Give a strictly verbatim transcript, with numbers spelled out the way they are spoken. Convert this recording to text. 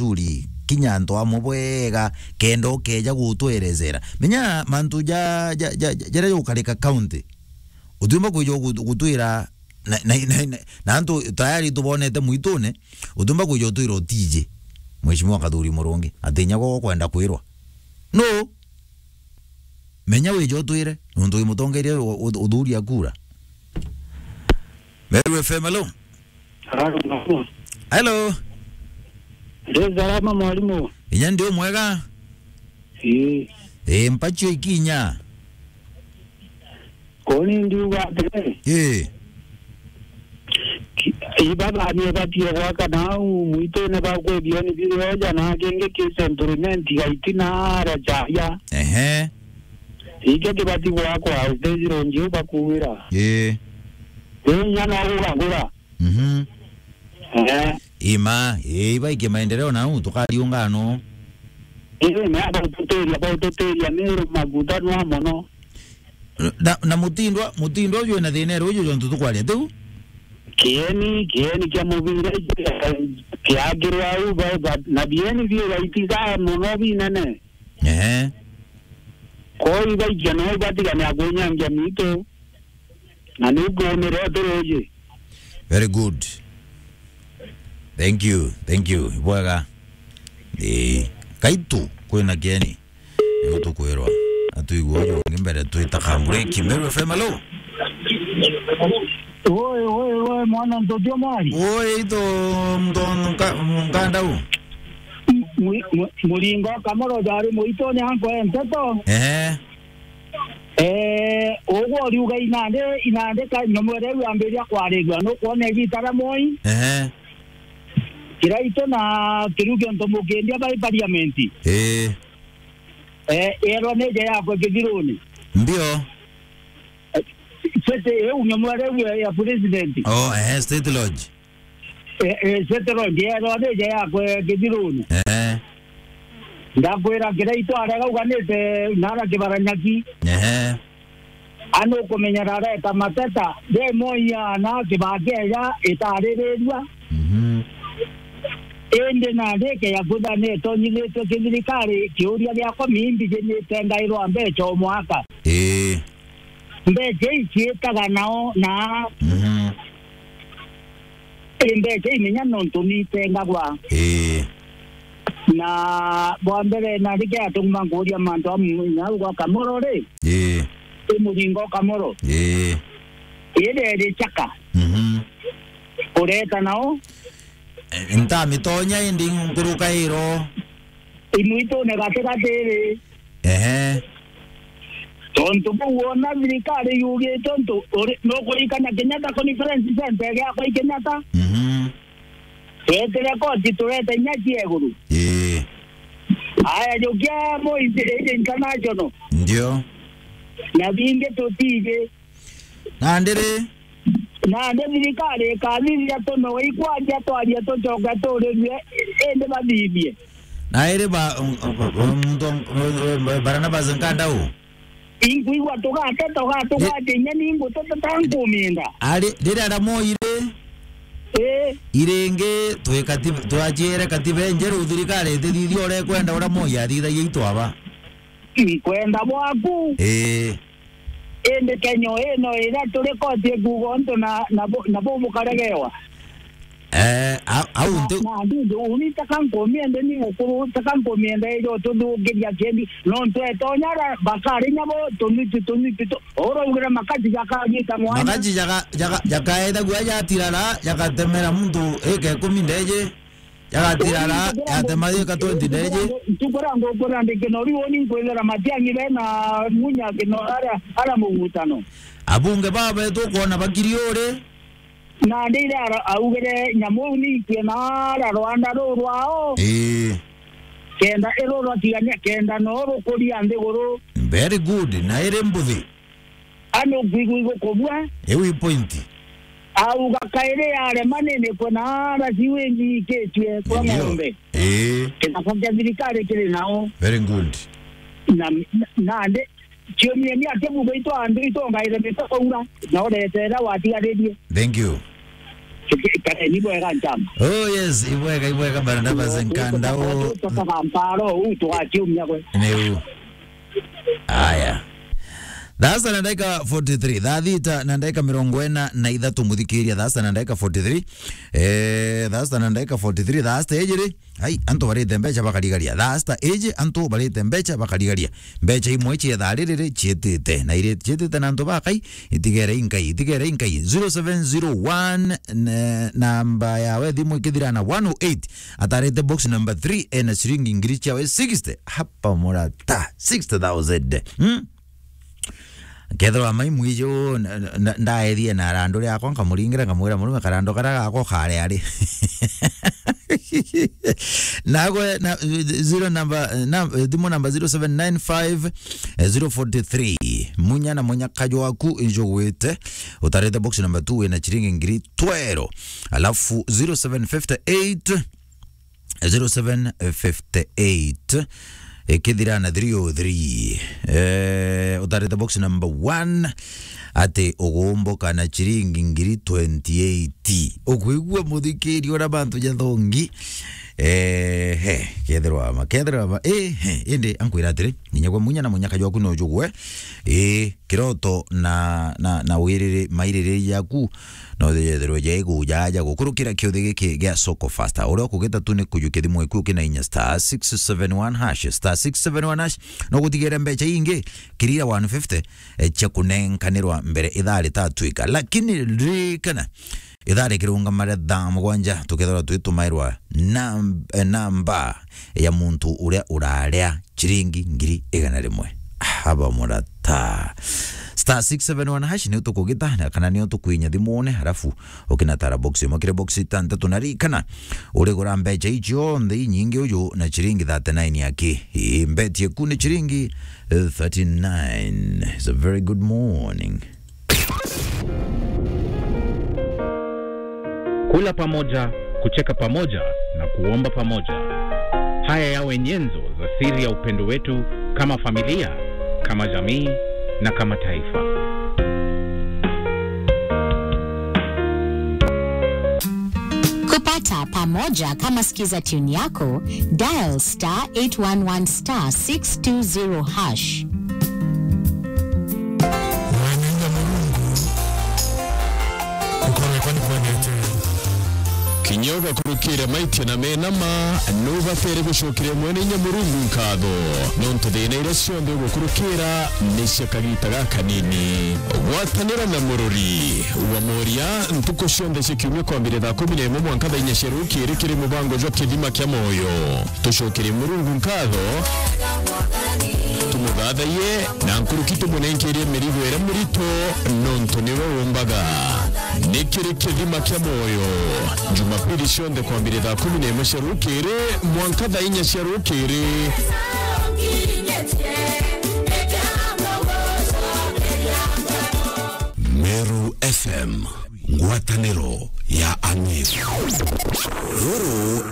Turi, kinya antu amwe bwega, kenda ukeja gutwerezera. Menya mantu ja, ja, ja, ja, jaria jukarika county. Utiumba kwija gutu-, gutwira na, na, na, na, na antu tayari tubonete mwitune, utiumba kwija utwira utiji. Mheshimiwa Kathuri Murungi, ati inya gwe ukwenda kwirwa. No. Menya wije utwire, nontu wi mutongeria u-, u-, uthuri akura. Meru F M, hello. Hello, mama. Hello. Ndi salama, mwalimu. Inya ndi umwega? Ii. Ii, mpacio ikinya. Koni ndiuga atiri. Ii. Ki-, ibathanie batie gwaka nau mwitune bakwe bioni birioja na kingi ki settlement gaitina ara charia. Ehe. Ikio kibati gwakwa stage road iu bakuwira. Ii. Ii, inya no gugagura. Mhm. Eh. Ima, ii, ibaikie maendeleo nau, tukariunga no. Ii, me baututiria, baututiria, Meru maguta nwa mono. Na, na mutindwa, mutindwa uju wina thina iri uju jontu tukwaria tiu? Kieni, kieni kia mubira, kiakirwa au, ba, ba, na bieni biu baitiga mono binene. Ehe. Kwou ibaikia no ibatigania kunyangia mitu. Na niu kuumire turi uji. Very good. Thank you, thank you. Ibwega. Ii. Kaitu, kwina kieni. Niu tukwirwa. Atuigua uju ungi mbere twita ka break. Meru F M, hello? Oi, oi, oi, mwana ntoto mari. Oi, ito mto nka-, mkanda u. Mu-, mu-, muringo kamoro jari muitone anko e nteto. Ehe. Eh, ugwo uriuga inande, inande ka nyomwere iu yambiria kwarigua, nukwona igita ria Moi. Ehe. Kiraitu na Kiruki onto mukindia bai parliament. Ii. Eh, erwa nije yakwe Kithiruni. Ndio. Eh, sete iu nyomwere iu ya, ya president. Oh, ehe, State Lodge. Eh, eh, State Lodge, erwa nije yakwe Kithiruni. Ehe. Ndakwira Kiraitu aria gauganite nara Kibaranyaki. Ehe. Anu ukumenya rareta mateta, de moiana Kibaki eja itaririrua. Mhm. Indi nandi ikeya kwithira ni itonyithitue kithirikari, kiuria giakwa miimbi ji ni itengairwa mbeca o mwaka. Ii. Mbeca ici ciitaga nao na Mhm. Ii, mbeca imenya nontu ni itengagwa. Ii. Na bwa mbere, na rike atuma nkuuria mantu amu, na uga Kamoro ri? Ii. I muringo Kamoro. Ii. Ire ri chaka. Mhm. Ureta nao? Eh, ntamitonya indi nkuruka iro. Imwitune gatigati ri. Ehe. Tontu buu wona thirikari yugite untu uri, nukuririkana Kenyatta Conference Center giakwa i Kenyatta? Mhm. Twetire koti turete inya cia iguru. Ii. Aya, jukia Moi International. Ndio. Na bingi tutiji. Nandi ri? Nandi thirikari ikathithia tunoe ikwaria twaria tucoke turirue, indi bathithie. Na iri ba, um, um, um, muntu, um, um, Barnabas Nkandau? Inkwigua tugateta, ugatugwatia inya ni nguteta ta nkuminda. Ari, riria Ramoire? Ii. Iringi, twi katiba, twachiere katiba injeru, thirikari itithithia uria ikwenda uria Moi athithagia itwaba. Nkwenda bwaku. Ii. Indi Kenya ino iria turi koti ikuuga untu na, na bu-, na bu bukaregewa. Eh, a-, au nti- Na, na ndindi uni taka nkumiende ni mukuru, taka nkumiende ijo tuthukiria kiendi, nontu etonya ara bakari nyabo tunutu, tunutu tu-, uraugire makati jakagita mwanya. Makati jaka-, jaka-, jakaethagua jatirara, jakatemera muntu ika ikumi ndeje. Jagatira ara, yatema yika twenty ndeje. Ntukura ngukura ndikino riu ni nkwithira Matiang'i bena munya kino ara, ara mugutano. Abunge baba tukwona bakiri uri. Na ndire ara, augire nyamu ni ikue na ara rwanda ru rwao. Ii. Kenda iru rwatigania, kenda no rukuria nthiguru. Very good. Na iri mbuthi. Anu kwigua igukubua. Iu i point. Auga kairi yarema nini kwona ara ciwingi ikitue kwa ng'ombe. Ii. Kithaka kia thirikari kiri nao. Very good. Na, na, nandi, ciumia ni ati buga itwa andu itongaire mitaura, na uretera watigaririe. Thank you. Kare ni bwega njamba. Oh yes, ibwega, ibwega, Barnabas Nkanda, oh. Tutoka Kampala, uu tugaciumia gwe. Ni uu. Aya. Thaa sita na ndagika forty-three. Thaa thita na ndagika mirongo ina na ithatu, muthikiria. Thaa sita na ndagika forty-three. Eh, thaa sita na ndagika forty-three. Thaa sita iji ri? Ai, antu barite mbeca bakarigaria. Thaa sita iji antu barite mbeca bakarigaria. Mbeca imwe cia thaa riri ri ciitite. Na iri ciitite na antu bakai, itigere inkai, itigere inkai. Zero seven zero one, ne-, namba yawe thimu ikithira na one oh eight. Atarite box number three, ena ciringi ngiri ciawe sixty. Hapa murata, sixty thousand. Hmm? Kethirwa mai mwiji uu, na, na, ndaethie na arandu riakwa, nkamuringira, nkamwira, "Murume, karandu karia gakwa kari ari." Nagwe na, zero number, na, thimu namba zero seven nine five, eh, zero forty-three. Munya na munya kajwaku injugwite, utarite box number two wina ciringi ngiri twero. Alafu zero seven fifty eight, zero seven fifty eight, ikithira na three oh three. Eh, utarite box number one, ati ugumbuka na ciringi ngiri twenty-eight. Ukwigua, muthikiri, ura bantu jathongi? Eh, he, kethirwa ma, kethirwa ma, eh, he, indi ankwira atiri, ninya gwa munya na munya kajwaku no jugwe. Eh, kiroto na, na, na wiriri, mairiri yaku, no yethirwe jaigu jaja gukurukira kiuthi giki gia Soko Fasta. Uria ukugita tu ni kujukia thimu iku ukina inya star six seven one hash, star six seven one hash, no gutigire mbeca ingi, kirira one fifty, eh, cia kunenkanirwa mbere ithaa ritatwika. Lakini ririkana, ithaa rikirungamara thaa mugwanja, tukethirwa twitumairwa nam-, eh, namba ya muntu uria uraria ciringi ngiri igana rimwe. Haba murata. Star six seven one hash niyo tukugita, na kana niyo tukwinya thimune, halafu ukinatara box imwe kiri box itantatu, na ririkana, urigura mbeca icio nthe inyingi uju na ciringi thirty-nine aki. Ii, mbeti eku ni ciringi, eh, thirty-nine. It's a very good morning. Kula pamoja, kucheka pamoja na kuomba pamoja. Haya yawe nyenzo za siri ya upendo wetu kama familia, kama jamii na kama taifa. Kupata pamoja kama sikiza tune yako, dial star eight one one star six two zero hash. Mwene inya Murungu, gukorwe kwa ni kwendete. Kinya ugakurukira maitia na mena ma, nubatere gucokeria Mwene inya Murungu nkatho, nontu thina iria cionthe ugukurukira ni cia kagita gakanini. Gwatanira na Mururi wa Moria ntuku cionthe cia kiumia kwambire thaa kumi na imwe mwanka thaa inya cia rukiri kiri mubango jwa Kithima kia Moyo. Tucokerie Murungu nkatho, tumuthathaiye, na nkuruki tumunenkerie mirigo iria mirito, nontu niwe umbaga. Ni kiri Kithima kia Moyo, Jumapili cionthe kwambire thaa kumi na imwe cia rukiri mwanka thaa inya cia rukiri. Meru F M, ngwataniro ya Ang'iri. Ruru